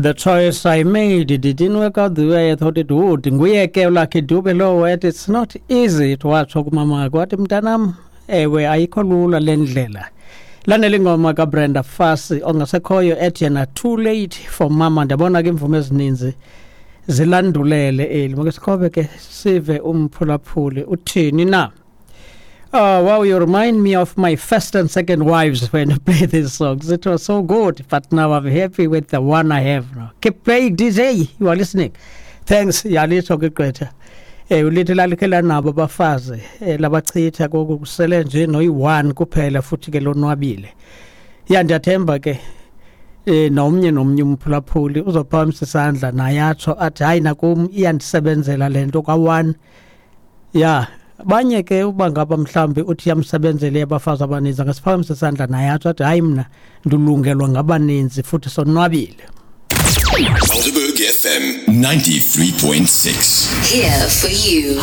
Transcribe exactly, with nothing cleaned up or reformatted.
The choice I made, it didn't work out the way I thought it would. Nguye ke uLucky Dube lowo ethi "It's not easy", watsho kumama wathi, "Mntanam, ewe, ayikho lula le ndlela." Landela ingoma kaBrenda Fassie ongasekhoyo ethi yena "Too Late for Mama". Ndiyabona ke imvumo ezininzi zilandulele eli. Make sikhobe ke sive umphulaphuli uthini na. "Oh, wow, you remind me of my first and second wives when you play these songs. It was so good, but now I'm happy with the one I have now. Keep playing, D J. You are listening." Thanks, yalitsho ke gqwetha. Eh ulithi lalikhe lanabo abafazi eh, labachitha kokusele nje noyi-one kuphela futhi ke lonwabile. Ya, ndiyathemba ke eh nomnye nomnye umphulaphuli uzophakamisa isandla naye atsho athi, "Hayi, nakum iyandisebenzela le nto ka-one." Ya, banye ke uba ngaba mhlawumbi uthi iyamsebenzela abafazi abaninzi, angasiphakamisa isandla naye atsho athi, "Hayi, mna ndilungelwa ngabaninzi futhi sonwabile." Helderberg F M ninety-three point six. Here for you.